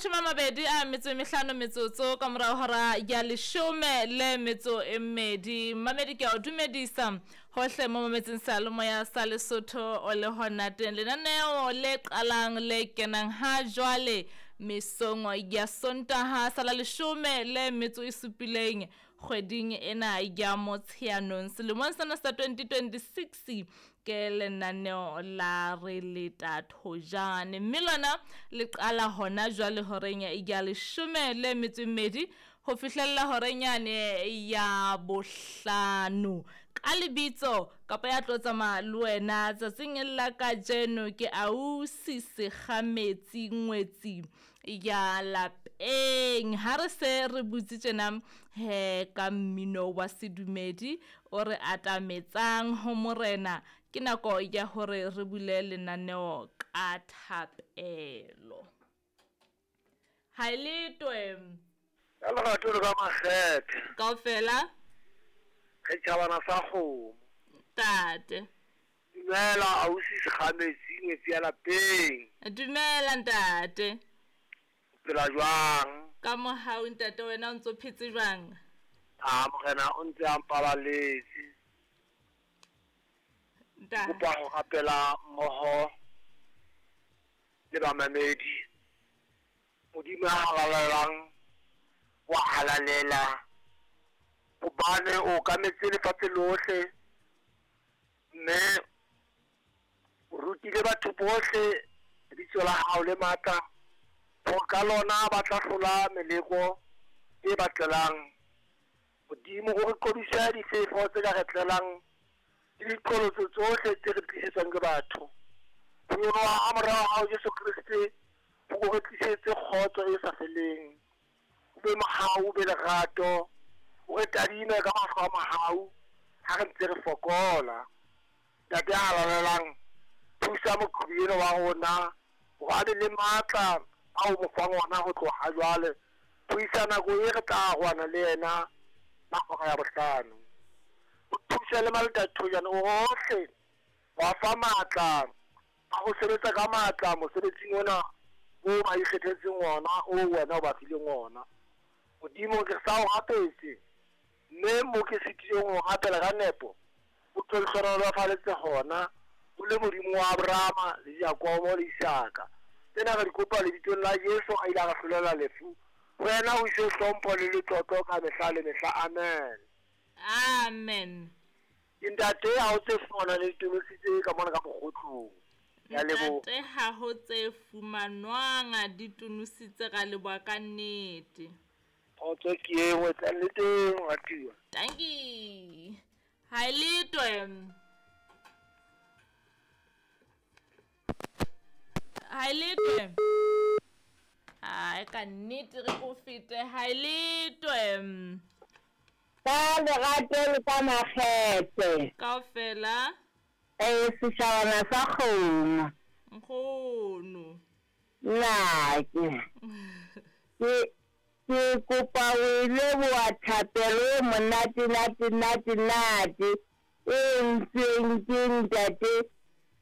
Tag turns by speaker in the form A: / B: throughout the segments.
A: Mashome a mabedi a metso e mehlano metsotso ka morago hora ya leshome le metso e mmedi. Mmamedi ke a o dumedisa hohle mo mametseng seyalemoya sa Lesotho o le hona teng. Lenaneo le qalang le kenang ha jwale mesong ya Sontaha sa la leshome le metso e supileng kgweding ena ya Motsheanong selemong sena sa 2026 ke lenaneo la Re Leta Thojane mme lona le qala hona jwale horeng ya leshome le metso e mmedi ho fihlella horeng yane ya bohlano. Ka lebitso kapa ya tlo tsamaya le wena tsatsing la kajeno ke ausi Sekgametsi Ngwetsi ya lapeng. Ha re se re butse tjena he ka mmino wa sedumedi o re atametsang ho morena, ke nako ya hore re bule lenaneo ka thapelo. Ha e letwe.
B: Ka lerato le ka makgethe.
A: Kaofela.
B: Re tjhabana sa kgomo.
A: Ntate.
B: Dumela ausi Sekgametsi Ngwetsi ya lapeng.
A: Dumela ntate.
B: O phela jwang?
A: Ka mohau ntate, wena o ntso phetse jwang?
B: A morena o ntse a mpabaletse.
A: Ntate.
B: Kopa ho rapela mmoho le bamamedi. Modimo ya halalelang wa halalela hobane o okametse lefatshe lohle, mme o rutile batho bohle lebitso la hao le matla, hore ka lona ba tla hlola meleko e ba tlelang. Modimo o re qobise difefo tse ka re tlelang le diqholotso tsohle tse re tlisetswang ke batho. Ho nyoloha ha Mora wa hao Jesu Kreste ho re tlisetse kgotso e sa feleng. O be mohau, o be lerato, o re tadime ka mahlo a mohau ha re ntse re fokola. Ntate ya halalelang, thusa moqhobi enwa wa rona hore a be le matla ao mo fang ona ho tloha ha jwale ho isa nako e re tla arohana le yena ka hora ya bohlano. O thuse le Maletathojane ohle wa fa matla a ho sebetsa ka matla mosebetsing ona o ba ikgethetseng ona, o wena o ba fileng ona. Modimo, ke sa o rapetse, mme mo ke sitileng ho rapela ka nepo, o tlo hlohonolofaletse hona, o le Modimo wa Abrahama le Jakobo le Isaka. Tsena re di kopa lebitsong la Jesu a ile a re hlolela lefu. Ho yena ho iswe hlompho le letlotlo ka mehla le mehla. Amen.
A: Amen.
B: Ke ntate ha ho tse fumanwang le ditonositse ka mona ka mokgotlong. Ke a leboha.
A: Ntate ha ho tse fumanwang di tonositse ra leboha ka nnete.
B: Kgotso ke eo e tlang le teng moratuwa.
A: Dankie. Ha e letwe. Ha e letwe. Ai ka nnete re ko fete ha e letwe.
C: Ka lerato le ka makgethe.
A: Kaofela.
C: Ee, setjhabana sa kgomo.
A: Nkgono.
C: Nnake. Ke ke kopa ho e leboha thapelo e monate nate nate nate e entsweng ke ntate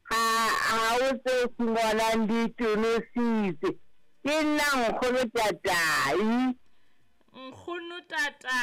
C: ha ha o tse fungwanang di tonositse. Ke nna nkgono Tatai.
A: Nkgono Tatai.